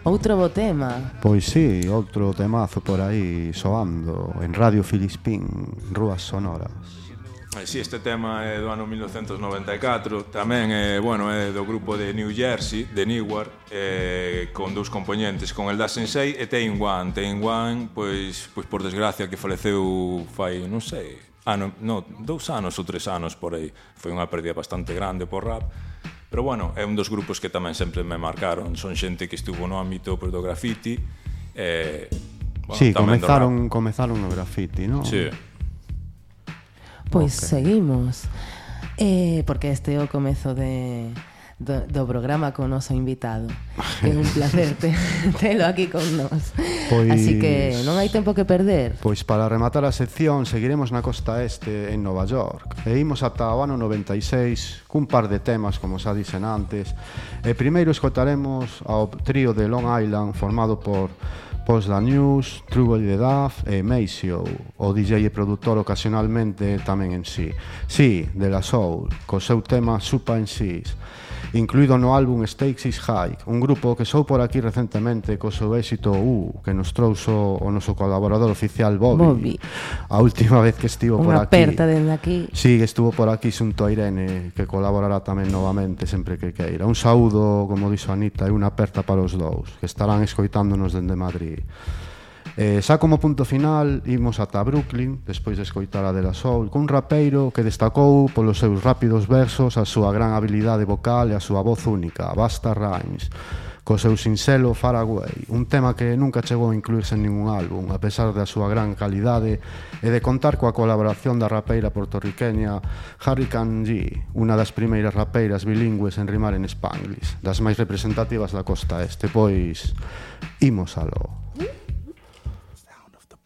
Outro bo tema. Pois sí, outro temazo por aí soando en Radio Filispín, Rúas Sonoras. Si, este tema é do ano 1994. Tamén é do grupo de New Jersey, de Newark, con dous componentes, con el Da Sensei e Tain One. Tain One, pois por desgracia, que faleceu fai, non sei, 2 anos ou 3 anos por aí. Foi unha pérdida bastante grande por rap. Pero é un dos grupos que tamén sempre me marcaron. Son xente que estuvo no ámbito do graffiti. Sí, comenzaron no graffiti, non? Sí. Pois seguimos, porque este é o comezo do programa con o noso invitado. É un placer telo aquí con nós. Así que non hai tempo que perder. Pois para rematar a sección seguiremos na costa este en Nova York e imos ata o ano 96 cun par de temas, como xa dixen antes. Primeiro escotaremos ao trío de Long Island formado por Post Da News, Trouble the Duff e Maceo, o DJ e produtor ocasionalmente tamén en sí. Sí, de La Soul, co seu tema Supa en Sis, incluído no álbum Stakes is High, un grupo que sou por aquí recentemente co seu éxito que nos trouxo o noso colaborador oficial Bobby. A última vez que estivo por aquí. Unha aperta dende aquí. Sí, estuvo por aquí xunto a Irene, que colaborará tamén novamente sempre que queira. Un saúdo, como dixo Anita, e unha aperta para os dous, que estarán escoitándonos dende Madrid. Xa como punto final imos ata Brooklyn despois de escoitar a De La Soul cun rapeiro que destacou polos seus rápidos versos, a súa gran habilidade vocal e a súa voz única, Busta Rhymes, co seu sinxelo Far Away, un tema que nunca chegou a incluirse en ningún álbum a pesar da súa gran calidade e de contar coa colaboración da rapeira portorriqueña Hurricane G, unha das primeiras rapeiras bilingües en rimar en Spanglish, das máis representativas da costa este. Pois imos aló.